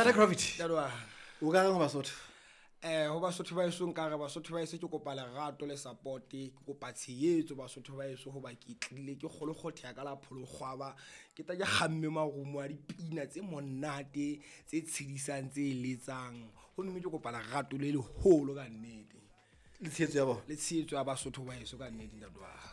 Ntate Gravity, Ntate wa o ka reng ho Basotho? Ho Basotho ba heso, nkare Basotho ba heso, ke kopa lerato le support, ke kopa tshehetso Basotho ba heso, hoba ke tlile ke kgolokgotheha ka la pholokgwaba, ke tla ke kgamme marumo a dipina tse monate, tse tshedisang, tse letsang. Ho mme ke kopa lerato le leholo ka nnete. Le tshehetso ya bona. Le tshehetso ya Basotho ba heso ka nnete, ntate wa ka.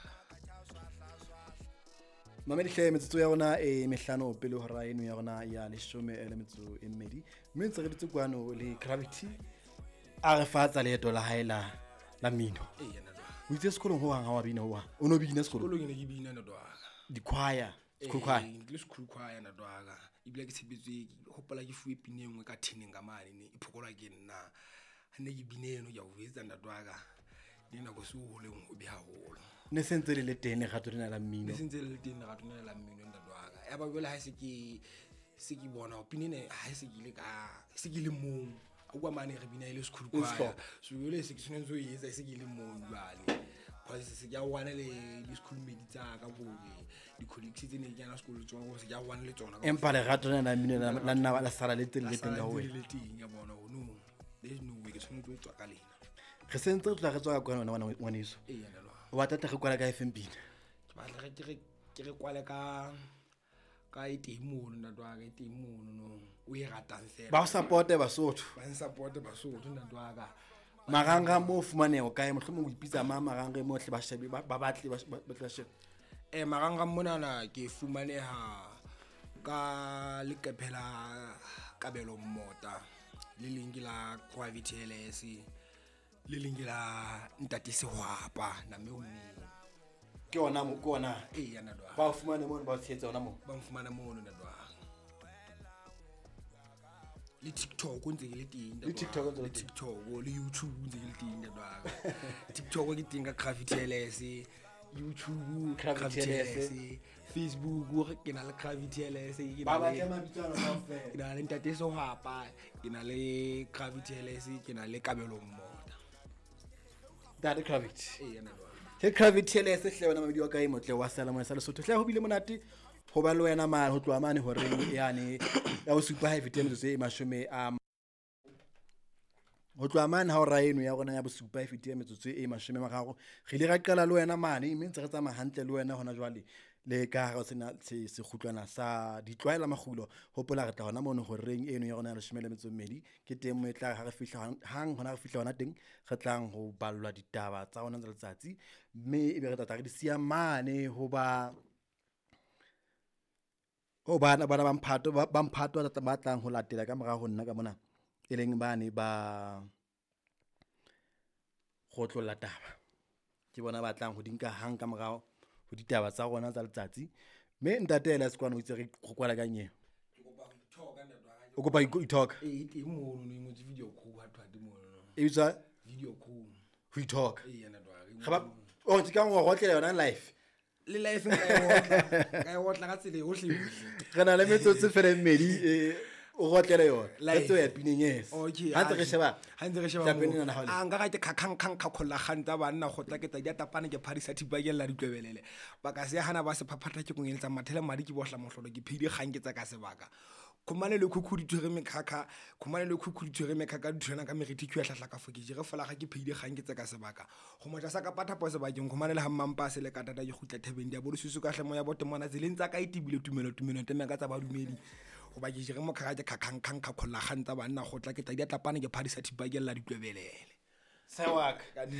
Mamedi hle, metsotso ya rona e mehlano pele hora eno ya rona ya 12, mme ntse re dutse kwano le Gravity, a re fatsa leeto la hae la mmino. Eya, ntate wa ka. O itse sekolong ho hang ha wa bina, ho hang o no bina sekolong? Sekolong ke ne ke bina, ntate wa ka. Di-choir, school choir? Ee, ke le school choir, ntate wa ka, ebile ke tshepetswe, ke hopola ke fuwe pina e nngwe ka theneng ka mane, ne e phokolwa ke nna. Ha ne ke bine eno, ke a o jwetsa, ntate wa ka, le nako se o leng hobe haholo. Ne se ntse le le teng lerato lena la mmino? Ne se ntse le le teng lerato lena la mmino, ntate wa ka. Ya ba jwale ha se ke bona hore pina ena, ha se ke ile ka se ke le mong a utlwa mane re bina e le school choir. Sehlopha. So jwale se ke tshwanetse ho e etsa e se ke le mong jwale, cause se ke a wane le di-schoolmate tsa ka, kore di-colleagues tse ne ke kena sekolo le tsona, kore se ke a wane le tsona. Empa lerato lena la mmino la nna la sala le teng, le teng ka ho le wena. Le teng, ka bona hore no, there is no way, ke tshwanetse ho tswa ka lena. Re sentse re tloha re tswa ka kwana wena ngwaneso. Eya, ntate wa ka. O batla tle re kwala ka efeng pina? Ke batla re ke re kwale ka e teng mono, ntate wa ka, e teng mono no o e ratang fela. Ba o supporte Basotho. Ba n-supporte Basotho, ntate wa ka. Marangrang mo o fumaneho kae? Mohlomong o ipitsa mang marangrang mo hle ba shebe, ba batle ba tle ba shebe? Marangrang monana ke fumaneha ka leqephe la Kabelo Mmota, le leng ke la Gravity LS, le leng ke la Ntate Sehwapa name o mmeng. Ke ona mo, ke ona? Eya, ntate wa ka. Ba o fumane mono, ba o tshehetsa ona moo? Ba nfumana mono, ntate wa ka. Le TikTok ntse ke le teng, ntate Le TikTok wa ka. ntse o le Le teng? TikTok le YouTube ntse ke le teng, ntate wa ka. TikTok ke teng ka Gravity LS, YouTube Gravity Gravity LS. LS, Facebook ke na le Gravity LS, ke Ba na le batle mabitso ana kaofela. Ke na le Ntate Sehwapa, ke na le Gravity LS, ke na le Kabelo Mmota. Ntate Gravity. Eya, ntate wa ka. Ke Gravity LS hle, wena mamedi wa ka e motle wa seyalemoya sa Lesotho hle, ho bile monate ho ba le wena mane ho tloha mane horeng yane ya 7 ha e fetile metsotso e mashome a, ho tloha mane ha hora eno ya rona ya 7 e fetile metsotso e 30. Re ile ra qala le wena mane, mme ntse re tsamaya hantle le wena hona jwale le ka hara sena sekgutlwana sa ditlwaela makgulo. Hopola re tla hona mono horeng eno ya rona ya 12, ke teng mo e tla ha re fihla hang hona re fihla hona teng, re tlang ho ballwa ditaba tsa rona tsa letsatsi, mme ebe re tla tla re di siya mane ho ba ho bana ba mphato ba mphato ba tlang ho latela ka morao ho nna ka mona, e leng bane ba kgotlolla taba. Ke bona ba tlang ho di nka hang ka morao ho ditaba tsa rona tsa letsatsi. Mme ntate Elias kwano o itse re kwala ka nyeo. Ke kopa ho ithoka, ntate wa ka. O kopa ho ithoka? Ee, e teng mono no, e ngotswe video crew ha thwe mono no. E bitswa? Video crew. Ho ithoka. Eya, ntate wa ka, e Re ba ngotswe mono. o ke ka ngo rotlela yona live. Le life nka e otla, nka e otla ka tsela yohle yohle. Re na le metsotso fela e mmedi, o rotlele yona. Re Live. tlo ya pineng, yes. Okay. Ha ntse re sheba. Ha ntse re sheba Tlapeng moo. ena ha o le. A nka ka ke khakhang khang khakholla kgang tsa banna, kgotla ke tsa di tapane, ke phadisa thipa ke lla ditlwebelele. Ba ka se hana ba se phaphatha, ke kongeletsa mathele madi, ke bohla mohlolo, ke phedi kgang ke tsa ka sebaka. Khumane le khukhu di tshwere mekhakha, khumane le khukhu di tshwere mekhakha, di tshwana ka meriti ke ya hlahla ka fo ke jere folaga, ke phedi kgang ke tsa ka sebaka. Go motla sa ka patha po sebakeng, khumane le ha mmampa se le ka tata, ke kgutla thebeng dia bolo susu ka hle moya bote mona tseleng tsa ka e tibile tumelo tumelo teme ka tsa badumedi. Hoba ke jere mokhakha ke khakhang khang khakholla kgang tsa banna, kgotla ke tla di tlapane, ke phadisa thipa ke lla ditlwebelele. Sewaka.